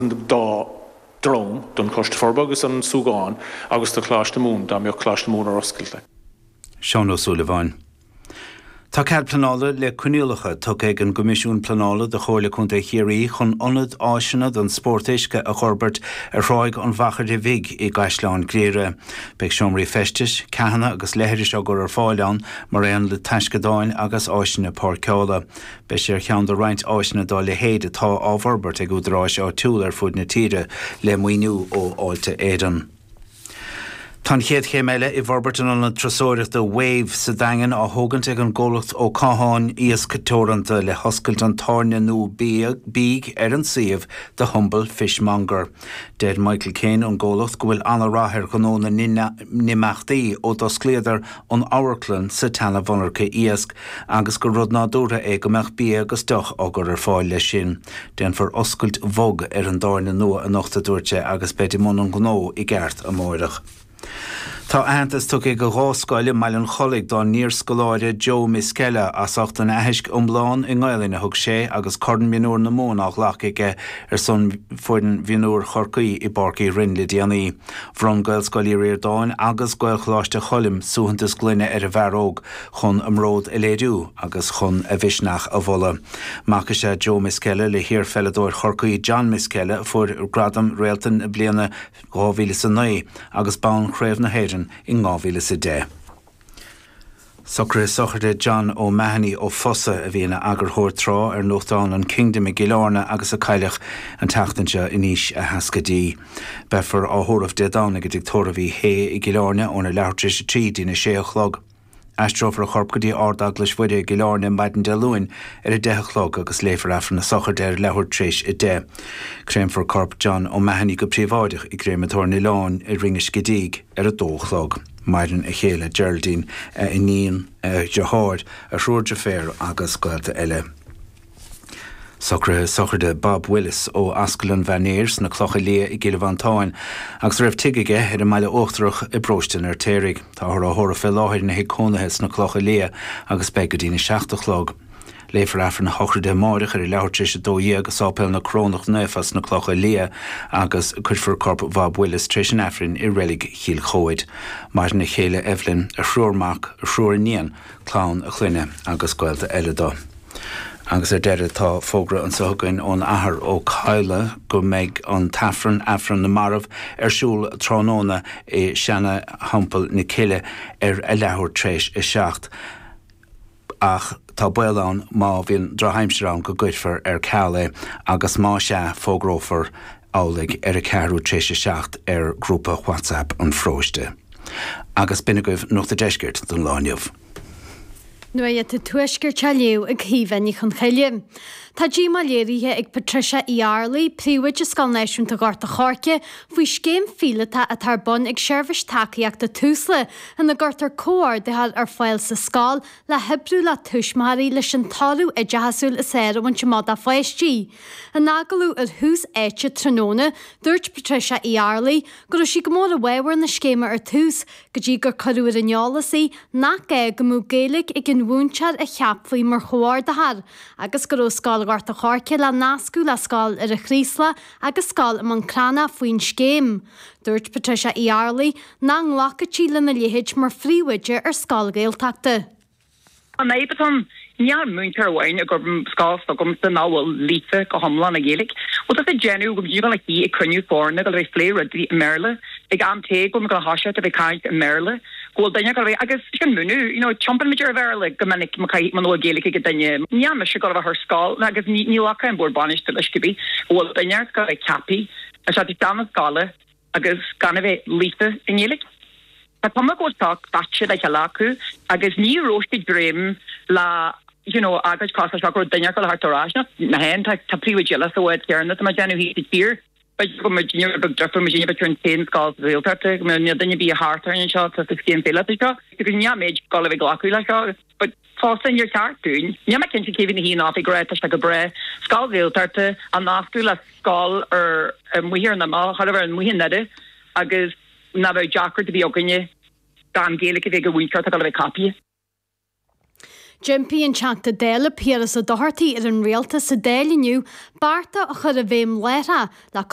Dá dream, don Choiste Forbartha agus don Súgán agus do Choláiste Mumhan, dá mbeadh Coláiste Mumhan ar oscailt. Seán Ó Súilleabháin. Tá cead pleanála le coinníollacha tugtha ag an gCoimisiún Pleanála do Chomhairle Contae Chiarraí chun ionad áiseanna don spórt uisce a fhorbairt ar Thráigh an Mhachaire Bhig i gCaisleán Ghriaire. Beidh seomraí feistis, ceathanna agus leithris á gcur ar fáil ann mar aon le taisceadáin agus áiseanna páirceála. Beidh sé ar cheann de roinnt áiseanna dá leithéid atá á bhforbairt ag údaráis áitiúla ar fud na tíre le maoiniú ó Fháilte Éireann. Tá an chéad chéim eile i bhforbairt an ionaid turasóireachta Wave sa Daingean á thógaint ag an gcomhlacht Ó Catháin Iasc Teoranta le hoscailt an tábhairne nua bídh ar an suíomh The Humble Fishmonger. Deir Michael Kane ón gcomhlacht go bhfuil ana-rath ar ghnó na n-imeachtaí ó d'osclaíodar an amharclann sa tseana-mhonarcha iasc agus gur rud nádúrtha é go mbeadh bia agus deoch á gcur ar fáil leis sin. Déanfar oscailt bhog ar an dtábhairne nua anocht, a dúirt sé, agus beid i mbun an ghnó i gceart amáireach. Tá aitheantas tugtha ag 2 scoil i mBaile an Chollaigh dá n-iarscoláire Joe Miskella as ucht an aithisc iomlán i nGaelainn a thug sé agus Corn Mionúir na Mumhan á ghlacadh aige ar son foireann mhionúir Chorcaí i bPáirc Uí Rinn le déanaí. Bhronn Gaelscoil Uí Ríordáin agus Gaelcholáiste Choilm suaitheantas gloine ar an bhfear óg chun a mbród a léiriú agus chun a mhisneach a mholadh. Mac is ea Joe Miskella le hiar-pheileadóir Chorcaí John Miskella a fuair gradam Réalta na Bliana 2009 agus bonn Chraobh na hÉireann in 2010. Socruithe sochraide John O'Mahony ó Fosa, a bhí ina eagarthóir tráth ar nuachtán an Kingdom i gCill Airne agus a cailleadh an tseachtain seo in aois a sheascaidí. Beifear á thórramh Dé Domhnaigh i dTigh Tórraimh Uí Shé i gCill Airne óna leathuair tar éis a 3 dtína sé a chlog. Aistreofar a chorp go dtí Ard-Eaglais Mhuire i gCill Airne maidin Dé Luain ar 10 a chlog agus léifear Aifreann na sochraide ar leathuair tar éis 10. Créamfar corp John O'Mahony go príobháideach i gCréamatóir an Oileáin i Rinn an Scidígh ar 2 a chlog. Maireann a chéile Geraldine, a iníon, a dheartháir, a thriúr deirféar agus gaolta eile. Socruithe sochraide Bob Willis ó Ascaill an Mhainéir sna Clocha Liath i gCill Mhantáin agus a raibh tigh aige ar an mBaile Uachtarach i bparóiste an Fheirtéaraigh. Táthar á thórramh fé láthair ina thigh cónaithe sna Clocha Liath agus beidh go dtína seacht a chlog. Léifear Aifreann a shochraide amáireach ar a leathuair tar éis 12 i Sáipéal na Corónach Naofa sna Clocha Liath agus cuirfear corp Bhob Willis tar éis an Aifrinn i Reilig Chill Chomhaid. Maireann a chéile Evelyn, a thriúr mac, a thriúr iníon, clann a chlainne agus gaolta eile dó. Agus ar deireadh tá fógra anseo againn ón Athair Ó Cadhla go mbeidh an tAifreann, Aifreann na Marbh, ar siúl tráthnóna i Seana-Theampall na Cille ar a leathuair tréis a 7 ach tá baol ann má bhíonn drochaimsir ann go gcuirfear ar ceal é agus má sea fógrófar amhlaidh ar a ceathrú tréis a 7 ar ghrúpa WhatsApp an pharóiste. Agus b'in agaibh Nuacht an Deiscirt don lá inniu. Nuacht an Tuaiscirt á léamh ag Caoimhe Ní Chonchoille. Tá díomá léirithe ag Patricia Uí Fhearraigh, Príomhoide Scoil Náisiúnta Ghort a' Choirce, faoi scéim phíolótach atá ar bun ag Seirbhís Tacaíochta Tusla ina gcuirtear comhordaitheoir ar fáil sa scoil le hoibriú le tuismitheoirí leis an toradh oideachasúil is fearr a bhaint amach dá pháistí. In agallamh ar Thús Áite tráthnóna, dúirt Patricia Uí Fhearraigh go raibh sí go mór i bhfabhar na scéime ar tús, go dtí gur cuireadh ar an eolas í nach gá go mbeadh Gaeilge ag an mhúinteoir a cheapfaí mar chomhordaitheoir, agus go raibh Scoil Ghort a' Choirce le nascadh le Scoil Dhoire Chraoslaigh agus Scoil i mBun Cranncha faoin scéim. Dúirt Patricia Uí Fhearraigh nach nglacfadh sí lena leithéid mar phríomhoide ar scoil Ghaeltachta. An fhadhb atá ann, níl múinteoir amháin ag obair sa scoil s'agamsa nach bhfuil líofa go hiomlán i nGaeilge. Bhuel, tá sé ag déanamh go bhfuil a shuí ag cruinniú foirne go bhfuil ag plé rudaí i mBéarla, ag am tae go bhfuil muid ag thoiseacht a bheith ag caint i mBéarla, go bhfuil duine ag bheith agus sin múineadh, you know, tiompaíonn muid ar Bhéarla go minic má caithfidh, muna bhfuil Gaeilge ag duine. Níl mise ag dul a bheith ar scoil agus ní ghlacfaidh an bord bainistithe leis cibé go bhfuil duine ag dul a bheith ceaptha isteach isteach na scoile agus gan a bheith líofa i nGaeilge. Tá cuma go bhfuil seo caite le chéile acu agus ní raibh siad ag dréim le you know agóid cosúil le seo go raibh duine acu le theacht ar ais. Ná féin, tá tá príomhoidí eile sa bhád céanna tá mé ag déanamh thíos sa tír. B'fhéidir go bhfuil muidne rud beag difriúil, muidne b'fhéidir an t-aon scoil sa Ghaeltacht, go mbeadh níl duine ar bith thart orainn anseo atá sa scéim phíolótach seo. Agus níl muid ag dul a bheith ag glacadh le seo. But fosta níor cheart dúinn, níl mé cinnte cé bhí ina shuí in oifig ag rá tá sé go breá, scoil Ghaeltachta a nascadh le scoil ar amuigh ar an imeall, chóir a bheith amuigh i nDoire agus nach bheadh deacracht ar bith againne gan Gaeilge a bheith ag an mhúinteoir atá ag dul a bheith ceaptha. D'impigh an Teachta Dála Piaras Ó Dochartaigh ar an Rialtas sa Dáil inniu bearta a chur i bhfeidhm láithreach le.